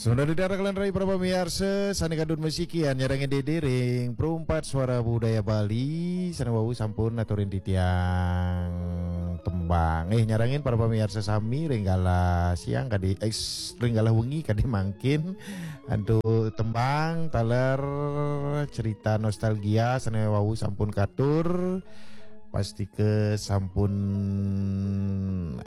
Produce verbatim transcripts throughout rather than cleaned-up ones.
Sampun dadi dara kalian rai para pamiarsa, sane kadun masikian nyarengin Dede ring Perumpat Suara Budaya Bali, sane wau sampun aturin titiang tembang. Eh, nyarengin para pamiarsa sami ring galah siang kadi, eh, ring galah wengi kadi mangkin antuk tembang taler cerita nostalgia sane wau sampun katur. Pastika sampun,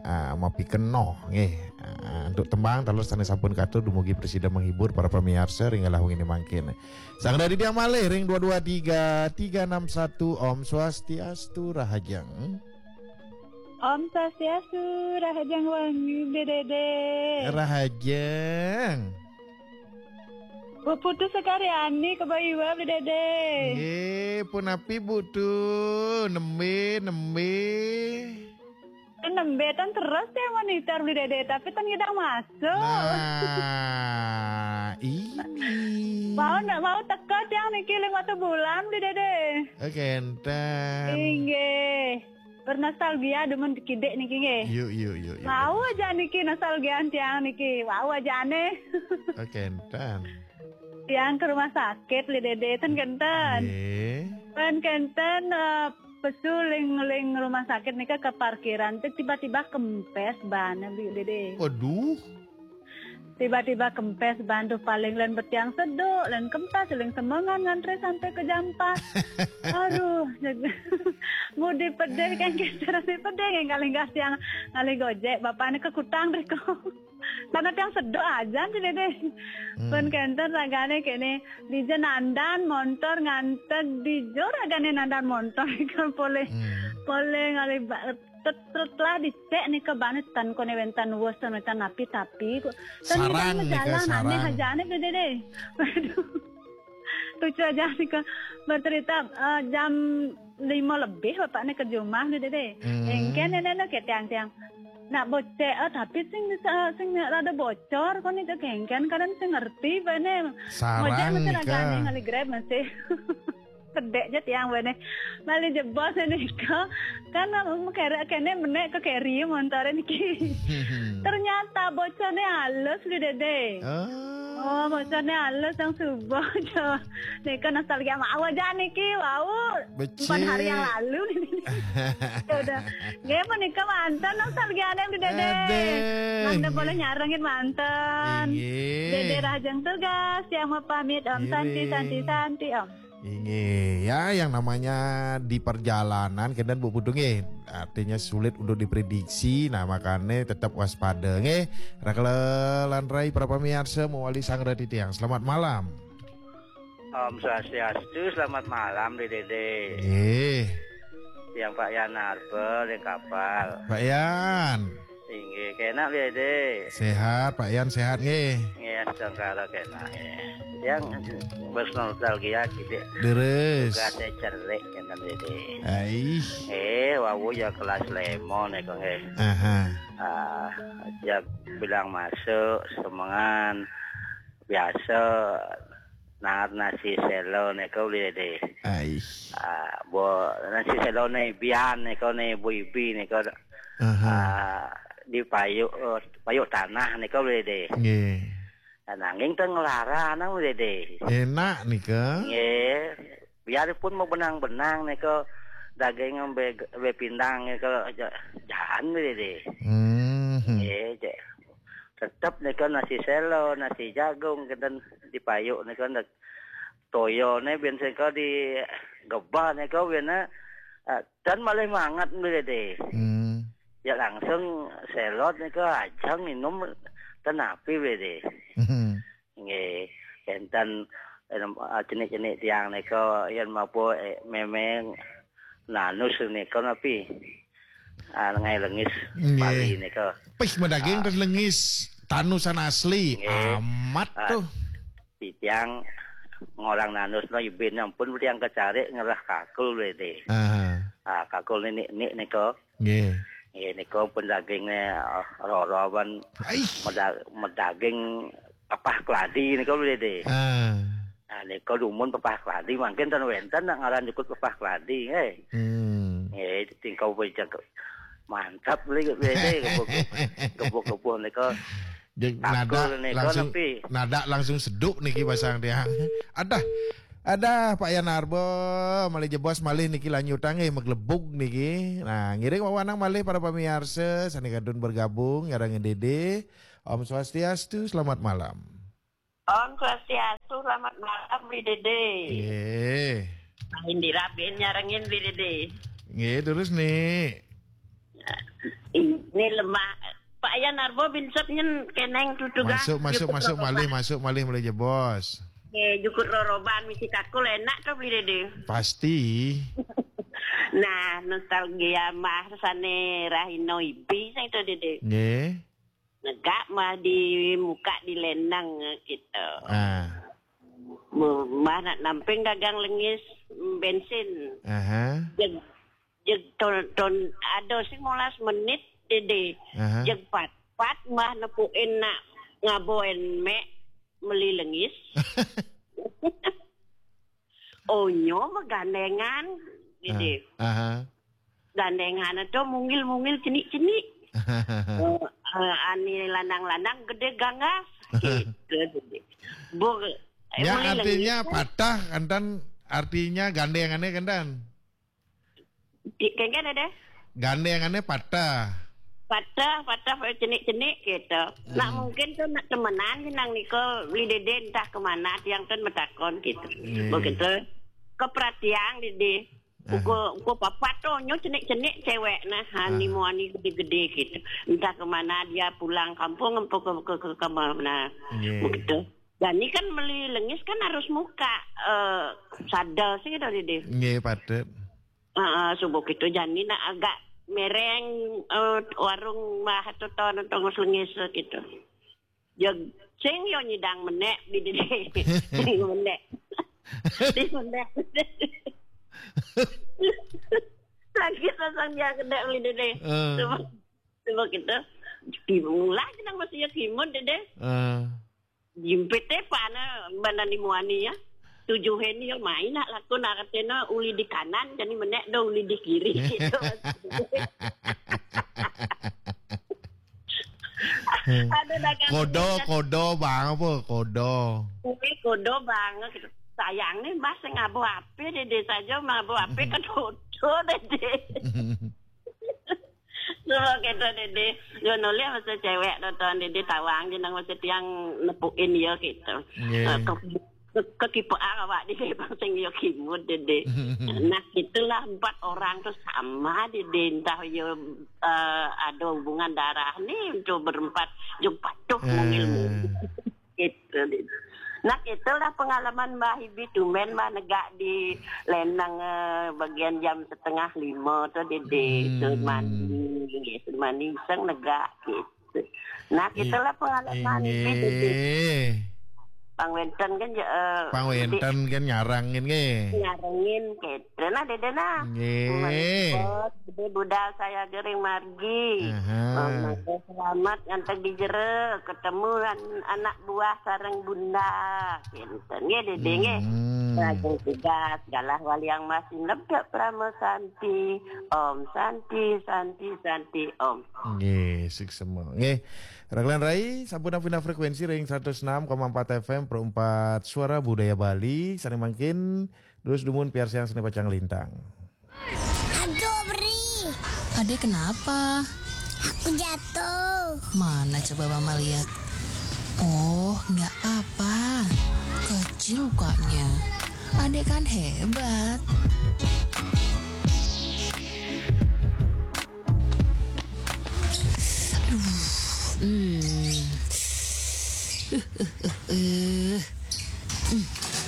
ah, mapikenoh nggih. Ah, antuk tembang taler sane sampun katur dumugi prasida menghibur para pamiarsa ring galah wengine mangkin. Sang dadi dia malih ring dua dua tiga tiga enam satu. Om Swastiastu, rahajeng. Om Swastiastu, rahajeng wengi, Bli Dede. Rahajeng. Bu Putu Sekaryani, Kebaiwa, Bli Dede. Nggih, punapi, Bu Tu? Nembe, nembe. Nembe ten terus ya monitor, Bli Dede, tapi ten ngidang masuk. Nah, ini. Mau ndak mau teka tiang niki ling watu bulan, Bli Dede. Oh, kenten. Inggih. Bernostalgia demen kidik niki nggih. Yuk, yuk, yuk, yuk. Mau aja niki nostalgia tiang niki. Mau aja aneh. Oh, kenten. Tiang ke rumah sakit, Bli Dede, ten kenten. Nggih. Ten kenten, eh, pesu ling, ling rumah sakit nika ke parkiran, te tiba-tiba kempes ban, Bli Dede. Waduh. Tiba-tiba kempes ban tu, paling len betiang seduk, len kempes, len semengan ngantri sampai ke jam empat. Aduh, ngudi pedih kan, kita rasa pedih kan, ngalih gas tiang, ngalih gojek, bapak ni ke kutang deh kok. Karena tiang seduk aja sih deh. Hmm. Pun kenten ragane kene, dija nandan montor nganten, dija ragane nandan montor kan poleh, hmm, poleh ngalih ba-, tet-, tet lah dicek nika bane ten kone wenten wes, ten wenten napi tapi kok. Ten sarang nika, jalan aneh sarang. Aja aneh gede deh. Waduh. Lucu aja nika bercerita, eh, jam lima lebih bapak ni ke jumah ni dede. Hmm. Engken ni nene ke tiang-tiang. Nak bocek, eh, tapi sing, eh, sing rada bocor kok ni ke engken kadang sing ngerti bane. Sarang nika. Ngojek masih ragane ngalih Grab masih. Kedek je tiang bane. Bali jebos nika. Kan, eh, kere kene menek ke keri montore niki. Ternyata bocorne halus, Bli Dede. Oh. Oh, bocorne halus yang subuh. Nika nostalgia mau aja niki, wau. Becik. Bukan hari yang lalu nih. Ya udah. Nggih, menika manten nostalgiane, Bli Dede. Aduh. Mangda boleh nyarengin manten. Inggih. Dede rahajeng tugas, tiang mapamit, Om. Santi, nggih. Santi, Santi, Om. Inggih, ya, yang namanya di perjalanan, kenten Bu Putu nggih, artinya sulit untuk diprediksi, nah, makanya tetap waspada nggih. Rakela lan rai para pamiarsa, mawali sang reti tiang. Selamat malam. Om Swastiastu, selamat malam, Bli Dede. Nggih. Tiang Pak Yan Arbel, yang kapal. Pak Yan. Inggih, kenak, Bli Dede. Sehat, Pak Yan, sehat nggih. Nggih, astungkara kenak, nggih. Yang bernostalgia kidik. Deres. Gade cerik, kenten, Bli Dede. Aih. Eh, wau ya kelas lima nika nggih. Aha. Ah, ya bilang masuk, semengan. Biasa nangar nasi selo nika, Bli Dede. Aih. Ah, bo, nasi selone bian nika ne, ibu-ibu nika. Aha. Ah, di payuk, eh, payuk tanah nika, Bli Dede. Nggih. Nah, nanging teng nglarang, Bli Dede. Enak nika. Nggih. Biarpun mau benang-benang nika daging be, be pindang nika ja-, jaan, Bli Dede. Hmm. Nggih, cek. Tetep nika nasi selo, nasi jagung, kenten di payuk nika ndak toyone biyen sengko di gebah nika biyen, eh, dan malih manget, Bli Dede. Hmm. Ya langsung selot nika ajeng minum ten api, Bli Dede. Hmm. Nggih, kenten, eh, cenik-cenik tiang nika yen mapun, eh, memeng nanus nika napi? Ah, lengai lengis. Nggih. Bali nika. Pih, medaging. Ah. Terus lengis, tanusan asli. Nggih. Amat. Ah, tuh. Titiang ngorang nanus no ibin ampun tiang kecarik ngerah kakul, Bli Dede. Aha. Ah, kakul ni, ni, ni nika. Nggih. Nggih, nika pun daginge, eh, roro ban. Aih. Meda-, medaging pepah keladi nika, Bli Dede. Ah. Nah, nika dumun pepah keladi mangkin ten wenten nak ngaran jukut pepah keladi, eh. Hmm. Nggih, tingkau pun jago. Mantap, Bli Dede, gebuk-gebuk, gebuk-gebuk nika. Nada langsung, nada langsung seduk niki basang tiang. Adah, adah Pak Yan Arbo, malih jebos malih niki lanjutang eh maglebug niki. Nah, ngiring wawanang malih para pamiarsa sane kadun bergabung nyarengin Dede. Om Swastiastu, selamat malam. Om Swastiastu, selamat malam, Bli Dede. Nggih. Indira bin nyarengin, Bli Dede. Nggih, terus nih. Ini lemah. Pak Yan Arbo bin Sep nyen keneng tutuga. Masuk, masuk, masuk malih, masuk malih, malih jebos. Nggih, jukut roroban misi kakul enak to, Bli Dede. Pasti. Nah, nostalgia mah sane rahina ibi sing to, Dede. Nggih. Negak mah di muka di lenang gitu. Ah. Mah nak namping dagang lengis bensin. Aha. Jeg, jeg ton, ton ada sing molas menit, Dede. Aha. Jeg pat-pat mah nepuin nak ngaboen mek meli lengis. Onyo mah gandengan, Dede. Ah, aha. Gandengan to mungil-mungil cenik-cenik. Eh, eh, ani lanang-lanang gede gangas. Gitu, Dede. Bu, eh, ya, meli artinya lengis kan patah, kantan artinya gandengannya, kantan. Di, kan, kan ada? Gandengannya patah. Patah, patah, cenik-cenik gitu. Nak mungkin tuh nak temenan nang niko, Bli Dede entah kemana, tiang tuh metakon gitu. Iya. Begitu. Keperhatian, Dede. Aha. Uko, uko papat tuh, nyo cenik-cenik cewek nah, ani muani gede-gede gitu. Entah kemana dia pulang kampung, empo ke, ke, ke, ke mana. Iya. Begitu. Dan ini kan meli lengis kan harus muka, eh, sadel sih gitu, Dede. Nggih, patut. Heeh, subuh gitu, jani nak agak mereng, eh, warung mah tuh ton tongos lengis gitu. Jeg, sing yo nyidang menek, Bli Dede. Sing menek. Di menek. Lagi sasang dia kena, Bli Dede. Eh. Subuh, subuh gitu. Dimulai nang masih ya kimut, Dede. Eh. Jimpit te pana bana ni muani ya. Tujuh ini yo main nak lakon artena uli di kanan, jadi menek do uli di kiri gitu. Ada dagang kodo, kodo bang apa? Kodo. Kuwi kodo bang gitu. Sayang nih Mas sing ngabo ape, Dede saja ngabo ape kan kodo, Dede. Suruh gitu, Dede. Yo nolih masa cewek nonton Dede tawang jeneng masa tiang nepuin ya gitu. Nggih. Eh, ke, ke, kekipean awak Dede bang sing yo kimut, Dede. Nah, itulah empat orang tuh sama, Dede. Entah yo, eh, ada hubungan darah nih untuk berempat, yo patuh mungil-mungil. Gitu, Dede. Nah, itulah pengalaman Mbah Ibi, tumben Mbah negak di lenang, eh, bagian jam setengah lima tuh, Dede. Hmm. Sun mani, sun mani iseng negak gitu. Nah, itulah pengalaman Ibi, Dede. Pang wenten kan, eh, pang wenten kan nyarangin nggih. Nyarangin gitu. Nah, Dede nah. Nggih. Bos, Dede budal saya gering margi. Aha. Mangga selamat ngantek di jero, ketemu an-, anak buah sareng bunda. Kinten nggih, Dede nggih. Hmm. Lajeng tugas galah waliang masin lebet Prama Santi. Om Santi, Santi, Santi, Om. Nggih, suksma. Nggih. Raglan Rai, sampun pindah frekuensi ring seratus enam koma empat F M Pro empat Suara Budaya Bali. Sane mangkin, terus dumun piarsiang sane pacang lintang. Aduh, Bri. Adek kenapa? Aku jatuh. Mana coba Mama lihat? Oh, nggak apa. Kecil lukanya. Adek kan hebat. Aduh. Hmm. Eh, eh, eh, eh.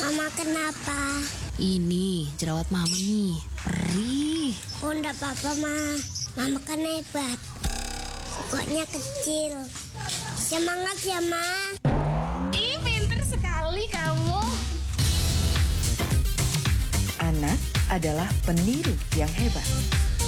Mama kenapa? Ini jerawat Mama nih, perih. Oh, ndak apa-apa, Ma. Mama kan hebat. Kokoknya kecil. Semangat ya, Ma. Ih, pinter sekali kamu. Anak adalah peniru yang hebat.